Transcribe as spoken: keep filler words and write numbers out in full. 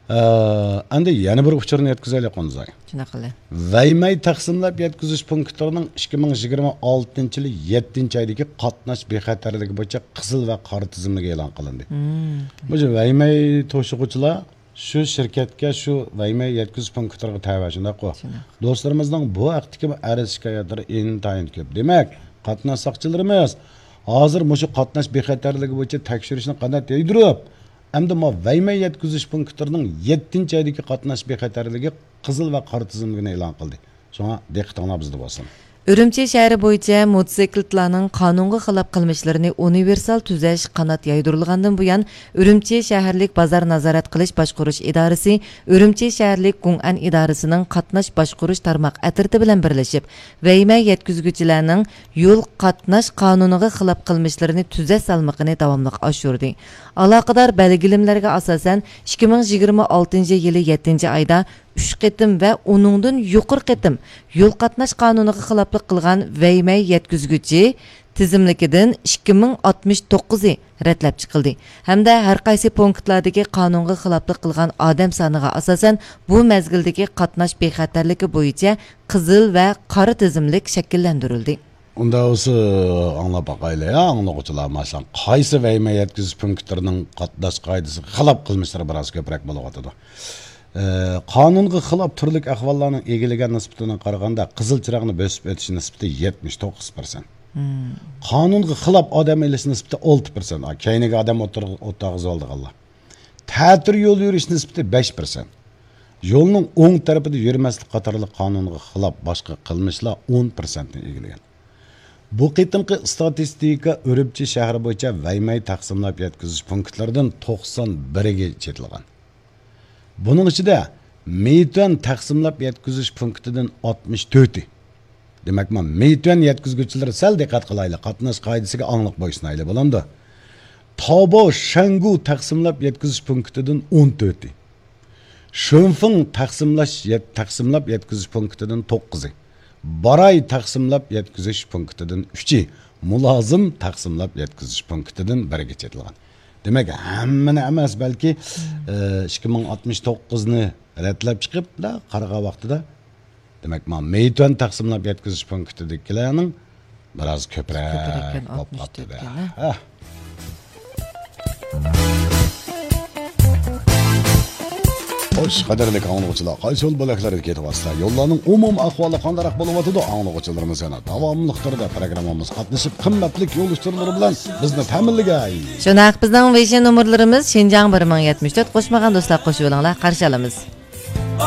ئە، ئەمدى يەنە بىر ئۇچۇرنى يەتكۈزەيلى، قونزاي. شۇنداق قىلە. ۋەيمەي تەقسىملەپ يەتكۈزۈش پونكىتلىرىنىڭ ئىككى مىڭ يىگىرمە ئالتىنچى يىلى يەتتىنچى ئايدىكى قاتناش بىخەتەرلىكى بويىچە قىزىل ۋە قارا تىزىملىككە ئېلان قىلىندى. مم. بۇ ۋەيمەي توشۇغۇچىلار شۇ شىركەتكە، شۇ ۋەيمەي يەتكۈزۈش پونكىتلىرىغا تەۋە، شۇنداققۇ؟ شۇنداق. دوستلىرىمىزنىڭ بۇ ھەقتىكى ئەرز شىكايەتلىرى ئىنتايىن كۆپ. دېمەك، قاتناش ساقچىلىرىمىز ھازىر مۇشۇ قاتناش بىخەتەرلىكى بويىچە تەكشۈرۈشنى قانات يايدۇرۇپ، ئەمدى ما ۋەيمەي يەتكۈزۈش پونكىتلىرىنىڭ يەتتىنچى ئايدىكى قاتناش بىخەتەرلىكى قىزىل ۋە قارا تىزىملىكىنى ئېلان قىلدى. شۇڭا دىققىتىڭلار بىزدە بولسۇن. ئۈرۈمچى شەھىرى بويىچە موتوسىكلىتلارنىڭ قانۇنغا خىلاپ قىلمىشلىرىنى ئۇنىۋېرسال تۈزەش قانات يايدۇرۇلغاندىن بۇيان، ئۈرۈمچى شەھەرلىك بازار نازارەت قىلىش باشقۇرۇش ئىدارىسى ئۈرۈمچى شەھەرلىك گۇڭئەن ئىدارىسىنىڭ قاتناش باشقۇرۇش تارماق ئەترىتى بىلەن بىرلىشىپ، ۋەيمە يەتكۈزگۈچىلەرنىڭ يول قاتناش قانۇنىغا خىلاپ قىلمىشلىرىنى تۈزەش سالمىقىنى داۋاملىق ئاشۇردى. ئالاقىدار بەلگىلىمىلەرگە ئاساسەن، ئىككى مىڭ يىگىرمە ئالتىنچى يىلى يەتتىنچى ئايدا ئۈچ قېتىم ۋە ئۇنىڭدىن يۇقىرى قېتىم يول قاتناش قانۇنىغا خىلاپلىق قىلغان ۋەيمە يەتكۈزگۈچى تىزىملىكىدىن ئىككى مىڭ ئاتمىش توققۇزى رەتلەپ چىقىلدى ھەمدە ھەر قايسى پونكىتلاردىكى قانۇنغا خىلاپلىق قىلغان ئادەم سانىغا ئاساسەن، بۇ مەزگىلدىكى قاتناش بىخەتەرلىكى بويىچە قىزىل ۋە قارا تىزىملىك شەكىللەندۈرۈلدى. ئۇنداق بولسا، ئاڭلاپ باقايلى، ھە، ئاڭلىغۇچىلار، ماشىئاللا، قايسى ۋەيمە يەتكۈزۈش پونكىتلىرىنىڭ قاتناش قائىدىسىگە خىلاپ قىلمىشلىرى بىراز كۆپرەك بولۇۋاتىدۇ؟ ئە، قانۇنغا خىلاپ تۈرلۈك ئەھۋاللارنىڭ ئىگىلىگەن نىسبىتىگە قارىغاندا، قىزىل چىراغنى بۆسۈپ ئۆتۈش نىسبىتى يەتمىش توققۇز پىرسەنت. مم. قانۇنغا خىلاپ ئادەم ئېلىش نىسبىتى ئالتە پىرسەنت. ئا، كەينىگە ئادەم ئولتۇر-، ئولتۇرغۇزۇۋالىدىغانلار. تەتۈر يول يۈرۈش نىسبىتى بەش پىرسەنت. يولنىڭ ئوڭ تەرىپىدە يۈرمەسلىك قاتارلىق قانۇنغا خىلاپ باشقا قىلمىشلار ئون پىرسەنتنى ئىگىلىگەن. بۇ قېتىمقى ئىستاتىستىكا ئۈرۈمچى شەھىرى بويىچە ۋەيمەي تەقسىملەپ يەتكۈزۈش پونكىتلىرىدىن توقسان بىرىگە چېتىلغان. بۇنىڭ ئىچىدە مېيتۈەن تەقسىملەپ يەتكۈزۈش پونكىتىدىن ئاتمىش تۆتى. دېمەك، ما مېيتۈەن يەتكۈزگۈچىلىرى سەل دىققەت قىلايلى، قاتناش قائىدىسىگە ئاڭلىق بويسۇنايلى، بولامدۇ؟ تاۋباۋ شەنگۇ تەقسىملەپ يەتكۈزۈش پونكىتىدىن ئون تۆتى. شۆنفېڭ تەقسىملەش يەت-، تەقسىملەپ يەتكۈزۈش پونكىتىدىن توققۇزى. باراي تەقسىملەپ يەتكۈزۈش پونكىتىدىن ئۈچى. مۇلازىم تەقسىملەپ يەتكۈزۈش پونكىتىدىن بىرىگە چېتىلغان. دېمەك، ھەممىنى ئەمەس، بەلكى، ئە، ئىككى مىڭ ئاتمىش توققۇزنى رەتلەپ چىقىپ، قارىغان ۋاقتىدا، دېمەك، مانا مېيتۈەن تەقسىملەپ يەتكۈزۈش پونكىتىدىكىلەرنىڭ بىراز كۆپرەك كۆپرەككەن، بولۇپ قاپتۇ-دە. ئاتمىش تۆتكەن، ھە؟ ھە. خوش، قەدىرلىك ئاڭلىغۇچىلار، قايسى يول بۆلەكلىرىگە كېتىۋاتىسىلەر؟ يوللارنىڭ ئومۇمىي ئەھۋالى قانداقراق بولۇۋاتىدۇ؟ ئاڭلىغۇچىلىرىمىز يەنە داۋاملىق تۈردە پروگراممىمىزغا قاتنىشىپ، قىممەتلىك يول ئۇچۇرلىرى بىلەن بىزنى تەمىنلىگەي. شۇنداق، بىزنىڭ ۋېيشىن نومۇرلىرىمىز شىنجاڭ بىر مىڭ يەتمىش تۆت، قوشمىغان دوستلار قوشۇۋېلىڭلار، قارشى ئالىمىز.